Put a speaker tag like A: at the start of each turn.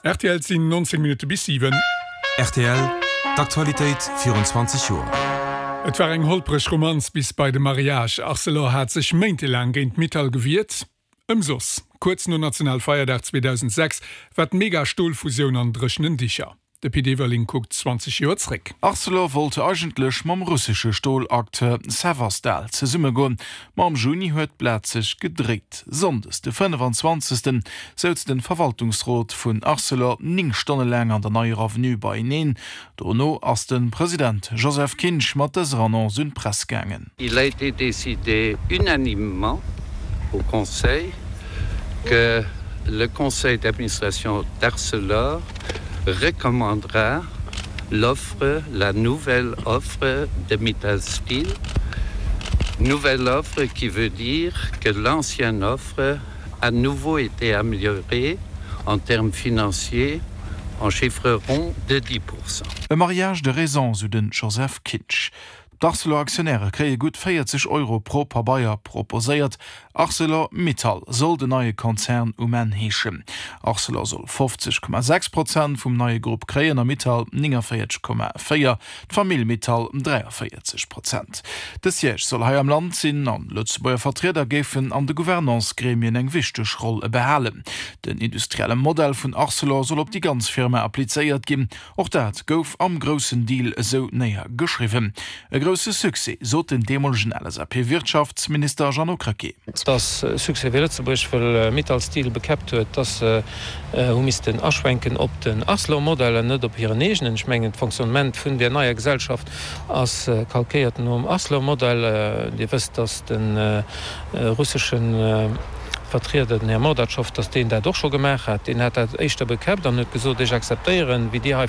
A: Rtl, Et sinn 19 Minutte bis 7.
B: Rtl, D'Aktualitéit virun 20 Joer.
A: Et war eng holpreg Romanz bis bei de Mariage. Arcelor hat sech méintelaang géint Mittal gewiert. Ëmsoss. Kuerz no Nationalfeierdag 2006 war d'Mega-Stolfusioun an dréchenen Dicher. De Pit Everling kuckt 20 Joer zréck.
C: Arcelor wollt eigentlech mam russesche Stolacteur Severstal zesummegoen, ma am Juni huet d'Blat sech gedréit. Sonndes de 25. Souz den Verwaltungsrot vun Arcelor 9 Stonne laang an der Neier Avenue beieneen. Dono ass de President Joseph Kinsch mat dëser Annonce un d'Press gaangen.
D: Il a été décidé unanimement au Conseil que le Conseil d'administration d'Arcelor recommandera l'offre, la nouvelle offre de Mittal Steel, nouvelle offre qui veut dire que l'ancienne offre a nouveau été améliorée en termes financiers en chiffre rond de 10%.
C: E mariage de raison, sou den Joseph Kinsch. D'Arcelor-Aktionäre kréie gutt 40 Euro pro Pabeier proposéiert. Arcelor Mittal soll den neie Konzern um Enn heeschen. Arcelor soll 50,6 Prozent vum neie Grupp kréien a Mittal 49,4, d'Famill Mittal 43 Prozent. De Siège soll hei am Land sinn an Lëtzebuerger Vertrieder géifen an de Gouvernance-Gremien eng wichteg Roll behalen. Den industrielle Modell vun Arcelor soll op déi ganz Firma applizéiert ginn. Och dat gouf am groussen Deal esou néiergeschriwwen. E grousse Succès, sot den deemolegen LSAP-Wirtschaftsminister Jeannot Krecké.
E: Et ass e Succès fir Lëtzebuerg, wëll Mittal Steel bekäppt huet, dass se hu missten aschwenken op den Arcelor-Modell an net op hiren eegenen. Ech mengen, d'Fonctionnement vun där neier Gesellschaft ass kalkéiert nom Arcelor-Modell. Dir wësst, dass de russeschen Vertrieder, den Här Mordatschow, datt deen dat och scho gemaach hat. Deen hat dat éischter bekäppt an huet gesot, Ech akzeptéieren, wéi dir hei.